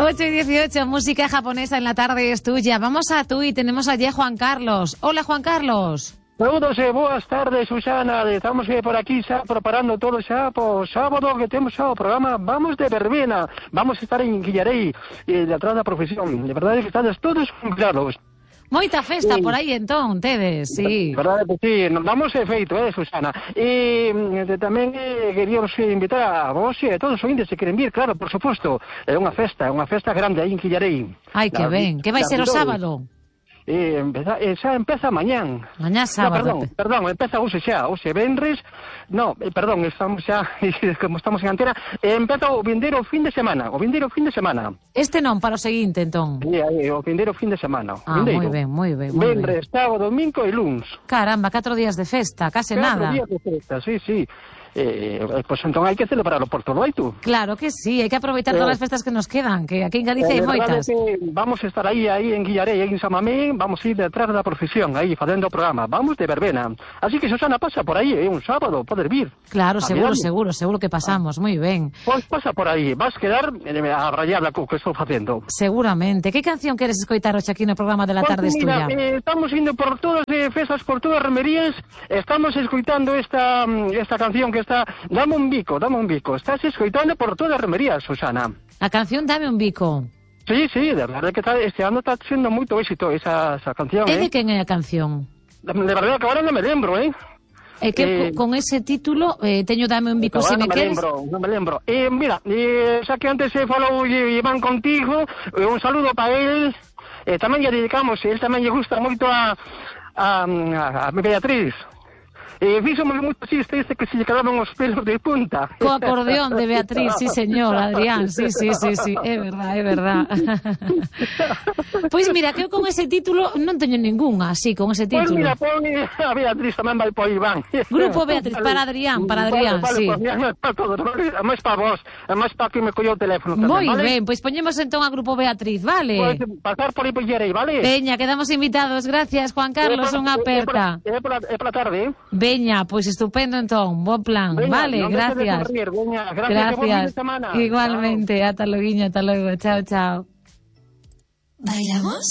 8:18, música japonesa en la tarde es tuya. Vamos a tú y tenemos allí a Juan Carlos. Hola, Juan Carlos. Saludos e boas tardes, Susana. Estamos por aquí xa preparando todo xa po sábado que temos xa o programa Vamos de Verbena. Vamos a estar en Guillarei, detrás da profesión. De verdade que estades todos convidados. Moita festa por aí entón, tedes, sí. Verdade que sí, nos damos efeito, Susana. E tamén queríamos invitar a vos e a todos os ointes que queren vir, claro, por suposto. É unha festa grande aí en Guillarei. Ai, que ben, que vai ser o sábado? Xa empeza mañán. Mañá sábado. Perdón, empeza hoxe xa, hoxe venres. No, perdón, estamos xa, como estamos en antena, empeza o vindeiro fin de semana, Este non, para o seguinte, entón. O vindeiro fin de semana. Moi ben. Venres, sábado, domingo e luns. Caramba, 4 días de festa, case nada. 4 días de festa, sí. Pois entón hai que celebrarlo por todo tú. Claro que sí, hai que aproveitar todas as festas que nos quedan, que aquí en Galicia hai moitas. Vamos a estar aí en Guillarei, en Samamén, vamos a ir detrás da profesión, aí facendo o programa, Vamos de Verbena. Así que Susana pasa por aí, un sábado, poder vir. Claro, seguro que pasamos, moi ben. Pois pasa por aí, vas quedar a rayarla co que estou facendo. Seguramente. Que canción queres escoitar hoxe aquí no programa de la tarde estuya? Estamos indo por todas as festas, por todas as romerías, estamos escoitando esta canción que está Dame un bico. Estás escoitando por todas as romerías, Susana. A canción Dame un bico. Sí, de verdade que este ano está sendo moito éxito esa canción. É de quen é a canción? De verdade que agora non me lembro, É que con ese título teño Dame un bico se me queres. Non me lembro. Mira, xa que antes falou Iván contigo, un saludo para él. Tamén lle dedicamos, él tamén lle gusta moito a Beatriz. Fíxome moito chiste que se lle quedaban os pelos de punta. Co acordeón de Beatriz, sí señor, Adrián, sí, é verdad. Pois mira, que eu con ese título non teño ningunha, así, con ese título. Pois mira, pon a Beatriz tamén vai por Iván. Grupo Beatriz, para Adrián, sí. Máis para vos, máis para que me collou o teléfono tamén, moi vale? Ben, pois poñemos entón a Grupo Beatriz, vale? Pois pasar por aí por Guillarei, vale? Veña, quedamos invitados, gracias Juan Carlos, unha aperta. É pola tarde, Veña, pois estupendo entón, bo plan, vale, gracias. Gracias. Igualmente, ata logo, chao. ¿Bailamos?